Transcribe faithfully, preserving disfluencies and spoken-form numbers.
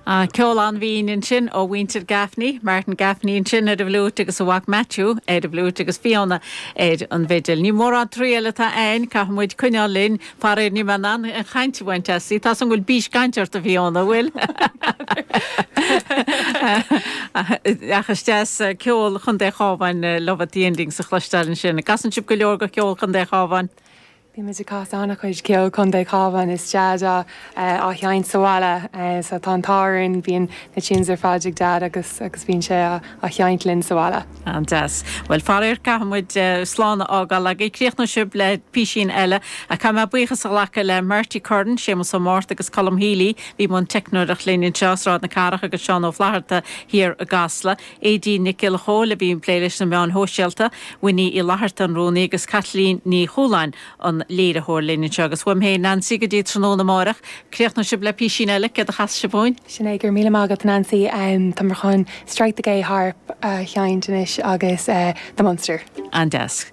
Ceol an-bhinn ansin ó mhuintir Gaffney, Martin Gaffney ansin ar an bhfliúit agus a mhac Matthew ar an bhfliúit agus Fiona ar an bhfidil. Ní mórán triail atá ann caithfidh muid coinneáil linn faraor níl mé in ann an chaint a bhaint aisti Tá an bhfuil bís cainte ort a Fiona bhfuil. Ach is deas ceol Chontae an Chabháin Love at the Ending a chloisteáil ansin. An gcasann sibh go leor de cheol Chontae an Chabháin. Bímid ag casadh an-chuid ceol Chontae an Chabháin is Deaid á á sheinnt sa bhaile, so tá an t-ádh bíonn na tunes ar fad ag Dad agus agus bíonn sé á sheinnt linn sa bhaile. An-deas. Well faraor caithfidh muid slán a fhágáil agaibh críochnóidh sibh le písín eile a caithfidh mé buíochas a ghlacadh le Marty Curran, Séamus Ó Márta agus Colm Healy, bhí i mbun teicneoireacht linn anseo Sráid na Cathrach agus Seán Ó Flatharta thiar i gCasla. Aedín Nic Giolla Chóill a bhí ag plé leis na meáin shóisialta, Winnie Uí Fhlatharta an rúnaí agus Kathleen Ní Chúláin an léiritheoir linn anseo agus uaim féin Nancy go dtí tráthnóna amárach, críochnóidh sibh le písín eile céard a chas sibh dúinn? Sin é gur míle maith agat Nancy um, Tá chun Strike the Gay Harp a sheinnt anois agus uh, the Munster. An-deas.